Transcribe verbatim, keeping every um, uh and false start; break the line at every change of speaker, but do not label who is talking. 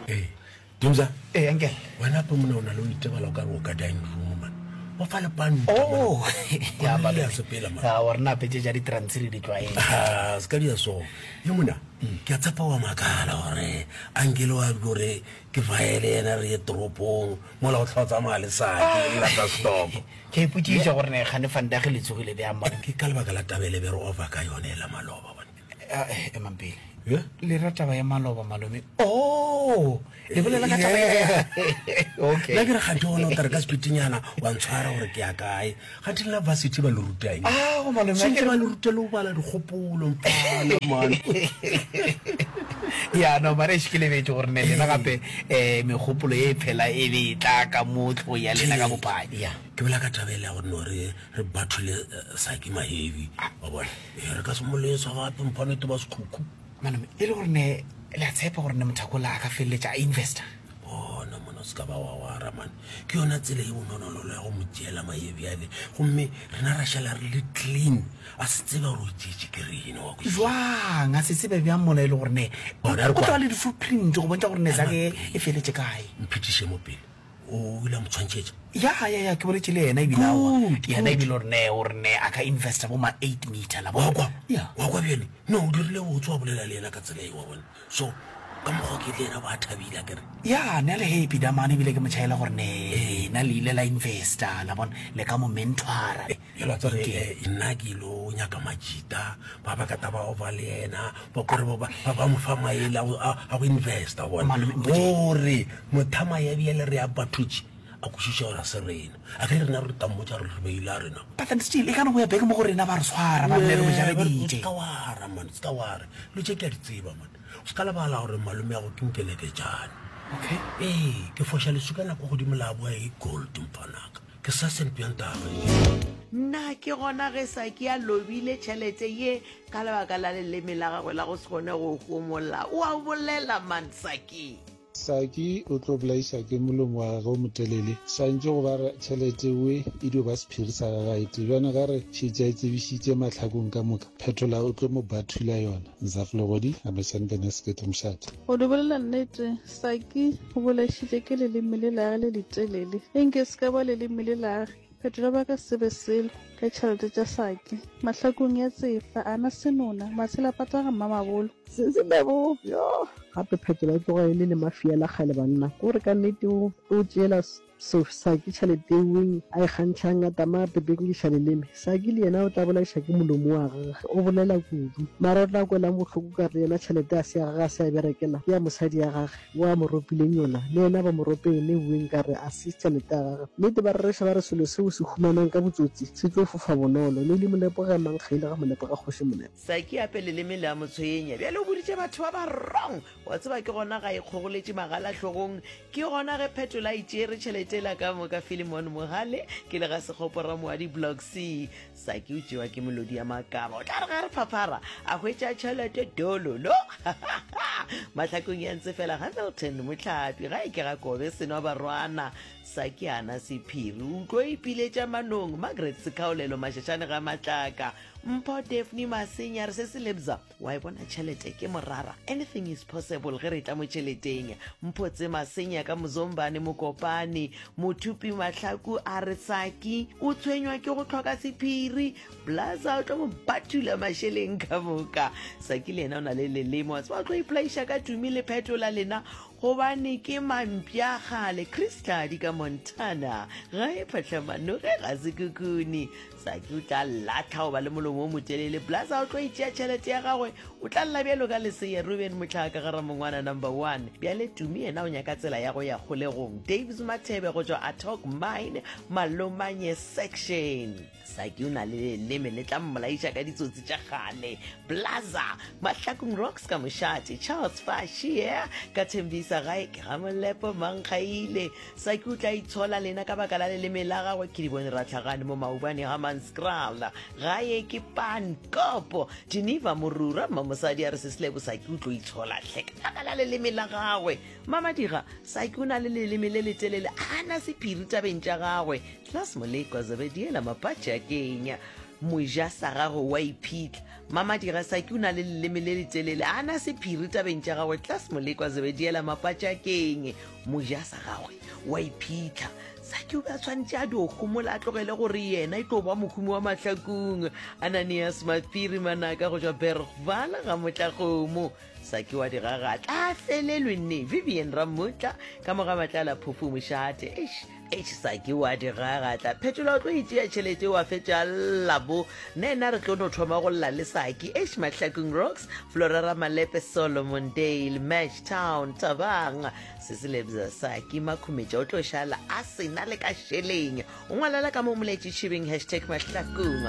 Ee, Dumza.
Ee, uncle.
Wena pe mona o na le o itebala o ka re o ka dining room man. O fa lepanta.
Oh,
ya ba le sepela man.
Ya wa rena petse ja di-trans le di tlwaele.
Ah, se ka dia so. Ye mona, ke a tshepa wa makala gore uncle wa gore ke faele yena re ye toropong mola o tla o tsamaya le saki le lata stock.
Ke ipotšiša gore ne gane fandage le tsogile bjang mara.
Ke ka lebaka la tabele be re over ka yone la maloba bona.
Eh, emang pele.
Yeah?
Le ra taba ya maloba malome. Oh, le bolela ka taba ya. Okay.
Nna ke re kganthe ona o tla re ka sepitinyana wa ntshwara gore ke ya kae. Kganthe le la varsity ba le ruta eng?
Ah, go malome.
Sentse ba le ruta le go bala dikgopolo mfana man.
Ya no mara ke lebetse gore ne lena gape eh megopolo e phela e be e tla ka mo tlho ya lena ka bopadi. Ya.
Ke bolela ka taba ele ya gore no re re bathole Saki Mahevi wa bona. Eh re ka se mo lesa gape mphane te ba sekhukhu.
Malome e le gore ne le a tshepa gore ne mothakola a ka feleletša a investor.
Bona mona o se ka ba wa wara man. Ke yona tsela e bonolonolo ya go mo tšeela mahevi ale. Gomme rena ra šala re le clean. A se tsebe gore o tšeetše ke rena wa kwešiša.
Jwang a se tsebe bjang mola e le gore ne
Bona re
o tla
kwa.
le di-footprint go bontšha gore ne zake e feletše kae.
Mphetiše mo pele. O ile a mo tshwantšhetša.
Ya ya ya ke boletše le yena ebile aowa.
Good,
Yena
good.
ebile gore ne o re ne a ka investor bo ma eight meter la
Wa
bona.
kwa?
Ya.
Wa kwa bjale? No, o dirile botse wa bolela le yena ka tsela e wa bona. So ka mokgwa ke le yena ba thabile akere.
Ya ne a le happy damane ebile ke mo tšhaela gore ne lena le ile la investor la bona le ka mo mentora.
Jalo tsa re eh, nna ke ilo nyaka majita ba ba ka taba over le yena ba kore ba ba ba mo fa maele a go- a a go investor bona.
Malome, mpotše.
Gore mothama ya bjale re ya bathutši a kwešiša gore a se rena. A ke re rena re tla mmotša gore re beile a rena.
But then still e ka no go ya beke mo go rena ba re tshwara ba nne re mo jareditše.
Se ka wara man, se ka wara. Dilo tše ke a di tseba man. O se ka lebala gore malome ya go ke nkeleketšane.
Okay.
Ee, ke foša leswika nako godimo la boa e gold mfanaka. Ke sa sentuyantaba.
Nna ke gona ge Saki a lobile tšhelete ye ka lebaka la leleme la gagwe la go se kgone go homola. O a bolela man Saki.
Saki o tlo bolaiša ke molomo wa gagwe o motelele. Swantše go ba re tšhelete we e dio ba sephiri sa gagae te. Bjana ga re šetše a e tsebišitše mahlakong ka moka, Phetola o tlo mo bathula yona. Nzaflegodi, Amešane Bene Sekete Mošate.
Go di bolela nnete, Saki o bolaišitše ke leleme le lage le letelele. Enke se ka ba leleme le lage. Phetola ba ka se be selo ka tšhelete tša Saki. Mahlakong ya tsefa, ana senona, matshela pata ga mmamabolo.
Se se lebo, yo. Gape Phetola o tloga e le le mafia la kgale banna. Ke gore ka nnete o o tšeela so Saki tšhelete eweng a e kgantšhang a tama a pepenkiša leleme. Saki le yena o tla bolaiša ke molomo wa gagwe, o bolela kudu. Mara o tla kwelang bohloko ka re yena tšhelete a se ya gagwe a se a berekela, ke ya mosadi ya gagwe o a mo ropileng yona. Le yena ba mo ropeng eweng ka re a se tšhelete ya gagwe. Nnete ba rereša ba re selo seo se humanang ka botsotsi se tlo fofa bonolo. Ne le molepo ge mang kgaile ga molepo ga kgoši molepo.
Saki ape leleme le a mo tshwenya. Bjale o boditše batho ba ba wrong. Wa tseba ke gona ga e kgogoletše magala hlogong. Ke gona ge Phetola a itšere tšhelete la ka moka Philemon Mohale ke le ga Sekgopo Ramoadi Block C. Saki o tšewa ke melodi ya makaba. O tla re ga re phaphara a hwetša tšhelete dololo. Mahlakong ya ntse fela Hamilton Mohlapi ga e ke ga kobe senwa barwana. Saki ana sephiri o tlo ipiletša manong Margaret Sekhaolelo Mashashane ga Matlaka. Mpho Daphne Masenya re se se lebza wa e bona tšhelete ke morara. Anything is possible ge re tla mo tšheleteng. Mpho tse Masenya ka Mozombane Mokopane Mothupi Mahlaku a re Saki o tshwenywa ke go hloka sephiri. Blaza o tlo mo bathula mašeleng ka moka. Saki le yena o na le leleme wa tseba o tlo ipolaiša ka Tumi le Phetola lena gobane ke mampša kgale. Chris Tladi ka Montana ga e phatlhamanoge ga se kukuni. Saki o tla latlha go ba le molomo o motelele. Blaza o tlo itšea tšhelete ya gagwe o tla lla bjalo ka leseya. Ruben Motlhaka ga Ramongwana number one. Bjale Tumi yena o nyaka tsela ya go ya kgolegong. Daves Mathebe go tšwa Atok Mine Malomanye section. Saki o na le leleme le tla mmolaiša ka ditsotsi tša kgale. Blaza Mahlakong Rocks ka Mošate. Charles Fashie ka Thembisa gae ke ga Molepo Mankgaile. Saki o tla itshola lena ka baka la leleme la gagwe. Ke di bone ratlhagane mo maubane ga Manskraal. Gae ke Pankopo. Geneva Morura mmamosadi a re se selebo Saki o tlo itshola hle ka baka la leleme la gagwe. Mamadiga Saki o na le leleme le letelele a na sephiri tabeng tša gagwe. Class Molekwa Zebediela Mapatše a Kenya. Moja sa gagwe wa iphitlha. Mamadira Saki o na le leleme le letelele, a na sephiri tabeng tša gagwe. Tlas Molekwa Zebediela Mapatšakeng, moja sa gagwe wa iphitlha. Saki o be a tshwanetše a dio homola, a tlogele gore yena e tlo ba mohumi wa Mahlakung. Ananias Maphiri Manaka go tšwa Bergval ga Motlakgomo. Saki wa digagatla a felelwe nne. Vivian Ramutla ka moga Matlala Phofu Mošate. Eish, eish, Saki wa digagatla. Phetola o tlo itšea tšhelete wa fetša lla bo. Nna ena re tlo no thoma go lla le Saki. Eish, Mahlakung Rocks, Flora Ramalepe, Solomon Dale, Match Town, Thabang. Se se lebza Saki Makhumetša o tlo šala a sena le ka šeleng. O ngwalela ka mo moletši tšhibeng hashtag Mahlakung.